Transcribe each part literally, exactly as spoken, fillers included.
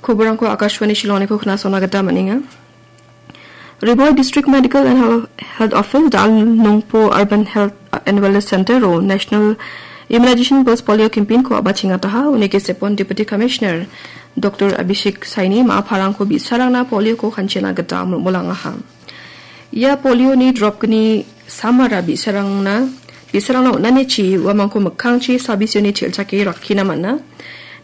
Koborangko Akashvani Shillongniko knasona gita man·enga. Ri Bhoi District Medical and Hel-, Health Office, Dal Nongpo Urban Health and Wellness Center-o National Immunization Pulse Polio Campaign-ko a·bachengataha, uni gesepon Deputy Commissioner Doctor Abhishek Saini ma·a parangko bi·sarangna polio-ko kanchena gita mulmulangaha. Ia polio-ni drop-gni samara bi·sarangna, bi·sarangna on·anichi uamangko mikkangchi sabisioni chelchake rakkina man·a.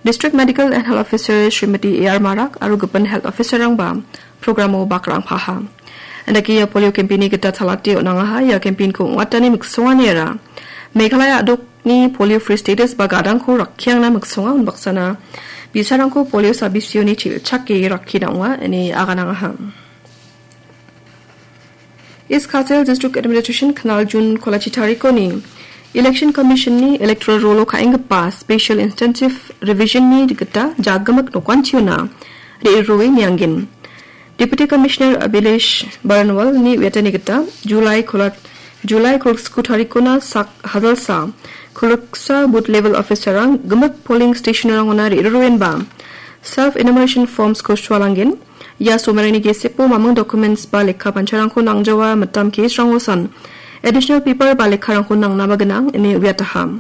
District Medical and Health Officer Srimati A R Marak aro gipin health officer-rangba program-o bakrang paha. Andake ia polio campaign-ni gita talate on·angaha, ia campaign-ko ong·atani miksonganiara Meghalaya a·dokni polio free status ba gadangko rakkiangna miksonga, unbaksana bi·sarangko polio sabisioni chelchake rakkina ong·a ine aganangaha. East Khasi Hills District Administration Knaljun kolachi tarikoni Election Commission-ni Electoral Roll-o ka·enggipa Special Intensive Revision-ni gita jagimik nokantiona re·rue niangen. Deputy Commissioner Abhilash Baranwal-ni uiatani gita July kola-, July kolgriksku tarikona sak hajalsa kolgriksa booth level officer-rang gimik polling station-rangona re·ruenba self enumeration forms-ko sualangen. Ia somerangni gesepo mamung documents ba lekka pancharangko nangjawa, mitam case-rangosan additional paper ba lekkarangko nangnaba gnang ine uiataha.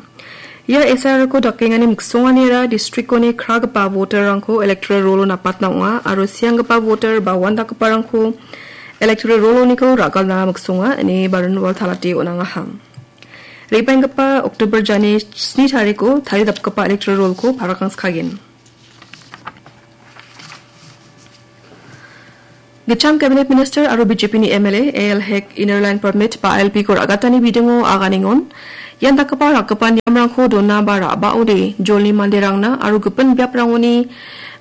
Ia S I R-ko dakengani miksonganiara district-oni kragipa voter-rangko electoral roll-o napatna ong·a aro sianggipa voter ba uandakgiparangko electoral roll-oniko ra·galna miksonga ine Baranwal talate on·angaha. Re·baenggipa October jani sni tariko taridapgipa electoral roll-ko parakkang skagen. Gitcham Cabinet Minister aro B J P-ni M L A A L Hek Inner Line Permit ba I L P-ko ra·gatani bidingo aganengon, ian dakgipa rakgipa niamrangko dona ba ra·baode jolni manderangna aro gipin biaprangoni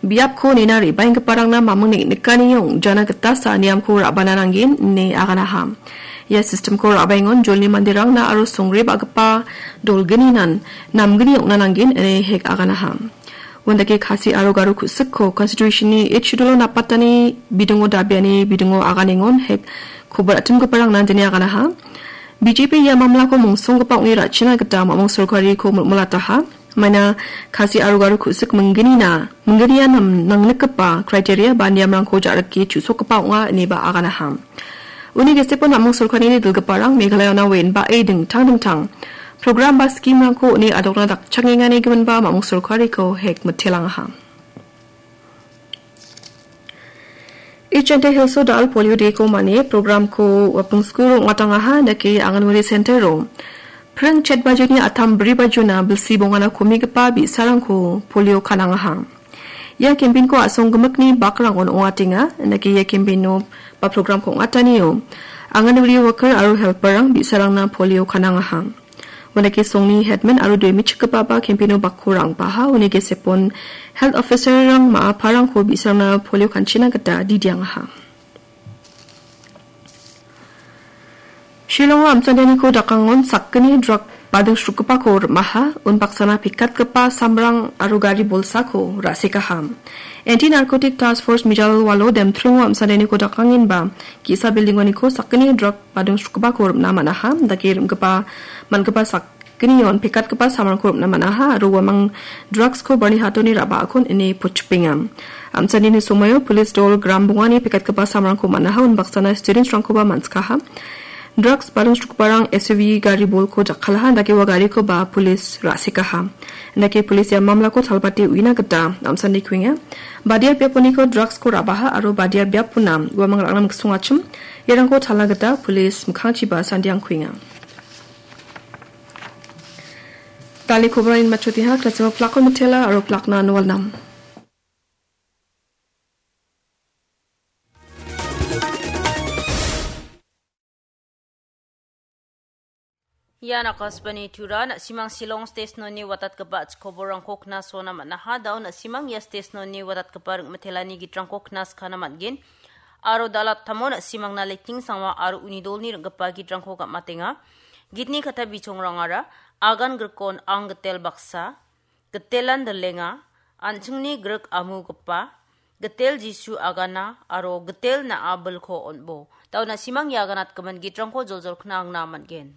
biapko nina re·baenggiparangna mamung neng·nikani ong·jana gitasa niamko ra·bana nanggen ine aganaha. Ia system-ko ra·baengon jolni manderangna aro songre ba·gipa dolgninan namgni ong·na nanggen ine Hek aganaha. Uandake Khasi aro Garo ku·sikko Constitution-ni Eighth Schedule-o napatani bidingo dabiani bidingo aganengon Hek kobar atimgiparangna dine aganaha. B J P ia mamlako mongsonggipa ong·e ra·china gita mamung sorkariko mulmulataha. Maina Khasi aro Garo ku·sik minggnina, minggnia nam-, nangnikgipa criteria ba niamrangko ja·rike chu·sokgipa ong·a ineba aganaha. Uni gesepo namung sorkarini dilgiparang Meghalayana wen ba·e dingtang dingtang program ba scheme-rangko uni adokna dakchangengani giminba mamung sorkariko Hek mitelangaha. East Jaintia Hills-o dal polio day-ko mane program-ko Wapung School-o ong·atangaha, dake Anganwadi Center-o pring chet bajoni atam bri bajona bilsi bongana komigipa bi·sarangko polio kanangaha. Ia campaign-ko a·song gimikni bakrangon ong·atenga, dake ia campaign-o ba program-ko ong·atanio Anganwadi worker aro helper-rang bi·sarangna polio kanangaha. Uandake songni headman aro due me·chikgipaba campaign-o bakko ra·angbaha, uni gesepon health officer-rang ma·a parangko bi·sarangna polio kanchina gita didiangaha. Shillongo amsandeniko dakangon sakgni drug badingsrukgipako rim·aha, unbaksana pekatgipa samrang aro gari bolsako ra·sekaha. Anti-Narcotic Task Force mijal walo demtringo amsandeniko dakangenba ge·sa building-oniko sakgni drug badingsrukgipako rim·na man·aha, dake rim·gipa, man·gipa sakgnion pekatgipa samrangko rim·na man·aha aro uamang drugs-ko barni hatoni ra·baakon ine putchipenga. Amsanini somoio police dol gram bongani pekatgipa samrangko man·aha, unbaksana students-rangkoba man·sikaha. Drugs badingsrukgiparang S U V gari bolko jakkalaha, dake ua garikoba police ra·sekaha. Dake police ia mamlako talbate uina gita amsani kuenga. Badia biaponiko drugs-ko ra·baha aro badia biapona uamang ra·na miksongachim. Iarangko talna gita police mikkangchiba sandiang kuenga. Dal·e koborangni matchotiha, krasima plakon mitela aro plakna nualnam. Ian Akashvani Tura, na·simang Shillong station-oni watatgipa a·chik koborrangko knasona man·aha. Da·o na·simang ia station-oni watatgipa ring·mitelani gitrangko knaskana man·gen. Aro dal·attamo na·simangna Leting Sangma aro uni dolni ring·gipa gitrangko gam·atenga. Gitni kata bichongrangara, Agan Grikon Ang Gitel Baksa, Gitelan Dilenga, An·chingni Grik Amugipa, Gitel Jisu Agana, aro Gitel Na·a Bilko On·bo. Da·o na·simang ia aganatgimin gitrangko joljol kna·angna man·gen.